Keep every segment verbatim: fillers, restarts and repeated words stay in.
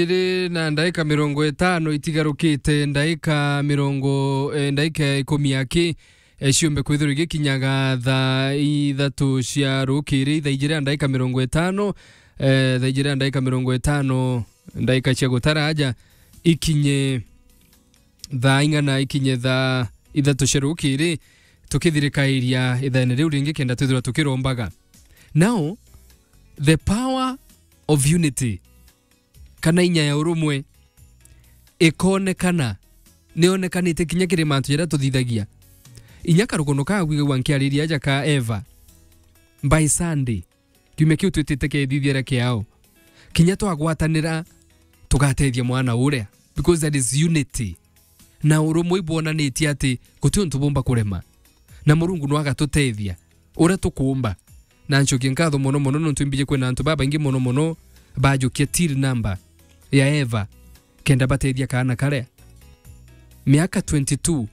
Iri na ndaika mirongo itano itigarukite, ndaika mirongo, eh, ndaika ikumi aki, eh, ciumbe kwithirwa igikinyaga thaa ithatu cia rukiri, thaa ijiri na ndaika mirongo itano, eh, thaa ijiri na ndaika mirongo itano, ndaika cia gutara aja ikinye thaa ing'ana, ikinye thaa ithatu cia rukiri, tukithirikairia ithaene riu ringi kenda twithirwa tukirombaga. Now, the power of unity, kana inya ya urumwe, ikonekana, nionekanite kinya kiri mantu jaria tuthithagia. Inya karugono ka gwigagua nkiariria aja ka Eva, by Sunday, kiumia kiu twitite kethithiera kiao. Kinya twagwatanira, tugatethia mwana uria, because there is unity. Na urumwe ibwonanitie ati guti untu bumba kurema. Na Murungu no agatutethia uria tukuumba. Na ncokie nkatho mono mono nontu imbiji kwina antu babaingi mono mono bajukia till number ya Eva kenda batethia kaana karia. Miaka twenty-two,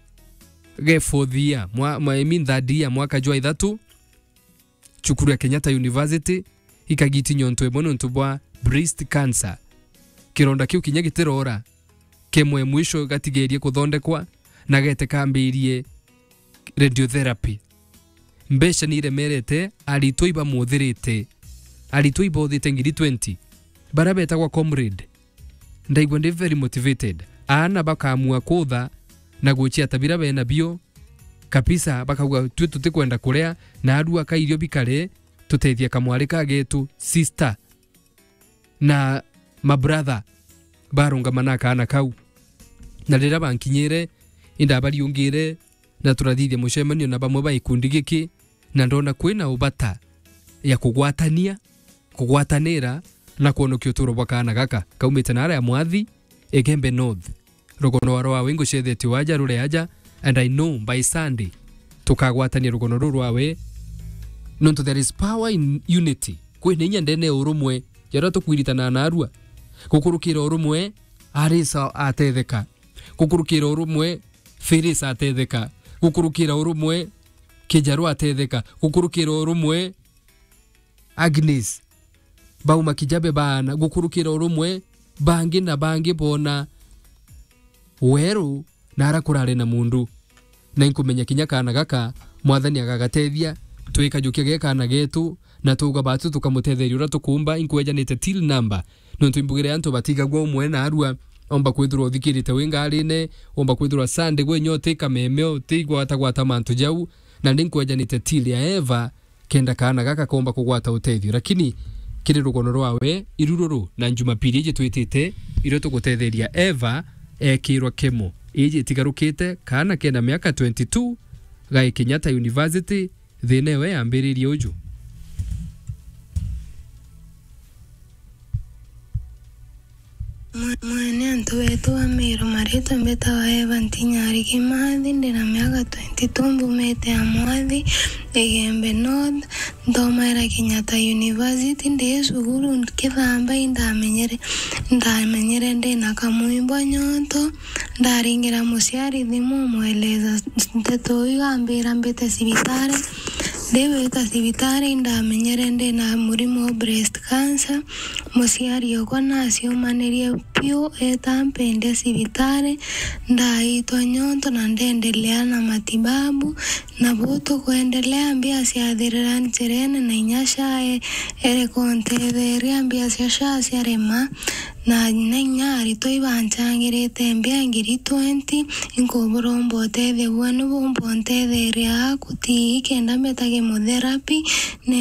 ge fourth year, mwa, mwa, I mean third year, mwaka jwa ithatu, cukuru ya Kenyatta University, ikagiti nyonto imwe nontu bwa breast cancer. Kironda kiu kinya gitirora, kemwe mwisho gatigerie kuthondekwa, na gete kambirie radiotherapy. Mbeca ni iremerete, aritwa ibamuthirite, aritwa ibothite ngiri twenty, baria betagwa Comrade. Ndaigua ndi very motivated. Aana bakamua kutha na guciata bira bena bio, kabisa, bakauga, "Twi tutikwenda kuria, na arua ka irio bikare, tutethia kamwari ka getu, sister." Na mabrother barungama na kaana kau. Na riria bankinyire, indabariungire, na turathithia mucemanio na bamwe ba gikundi giki, na ndona kwina ubata ya kugwatania, kugwatanira, na kwonokia uturo bwa kaana gaka kaumite na aria Mwathi, Igembe North. Rugono rwawe ngucethetio aja rure aja, and I know by Sunday tukagwatania rugono ruu rwawe, nontu there is power in unity. Kwina inya ndene ya urumwe, jaria tukwiritana narua. Gukurukira urumwe, Arisa atetheka. Gukurukira urumwe, Felix atetheka. Gukurukira urumwe, Kijaru atetheka. Gukurukira urumwe, Agnes, bauma Kijabe baana, gukurukira urumwe, bangi na bangi bona weru na ara kurari na mundu. Na inkumenya kinya kaana gaka, Mwathani agagatethia, twikajukia ge kaana getu, na tuuga batu tukamutetheria uria tukuumba, inkwejanite till number. Nontu imbugire antu batigagua umwe na arua, omba kwithirwa uthikirite wi ngarine, omba kwithirwa Sunday gwe nyote kameme, utigwatagwata mantu jau, na ni nkwejanite till ya Eva, kenda kaana gaka komba kugwata utethio. Lakini kiri rugono rwawe, irururu na Jumapili iji twitite, irio tugutetheria Eva ekirwa kemo. Iji itigarukite, kaana kena miaka twenty-two, gai Kenyatta University, thina ewe yambiririe uju. Mwe-, mwene antu betu ba Meru, maritwa mbitagwa Eva Ntinyari Kimathi, ndina miaka twenty-two, mbumite ya Mwathi, Igembe North, nthomaira Kenyatta University, ndi cukuru nkithamba, indamenyere-, ndamenyere ndina kamwimbwa nyonto, ndaringira muciari thimu, mweleza nteto iu, ambira mbite cibitari, ndibita cibitari, indamenyere ndina murimo wa breast cancer, Muciari okwa naciumanirie piu, eeta ampendia cibitari, ndaitwa nyonto na ndendelea na matibabu, na buu tukwendelea, mbia ciathirira njirene, na inya SHA e-, ereka untetheria, mbia cia SHA ciarema, na, na inya aritwa ibancangirite mbia ngiri twenty, inkuburomba utethio bwenu bumba untetheria aku tii kenda mbeta chemotherapy, na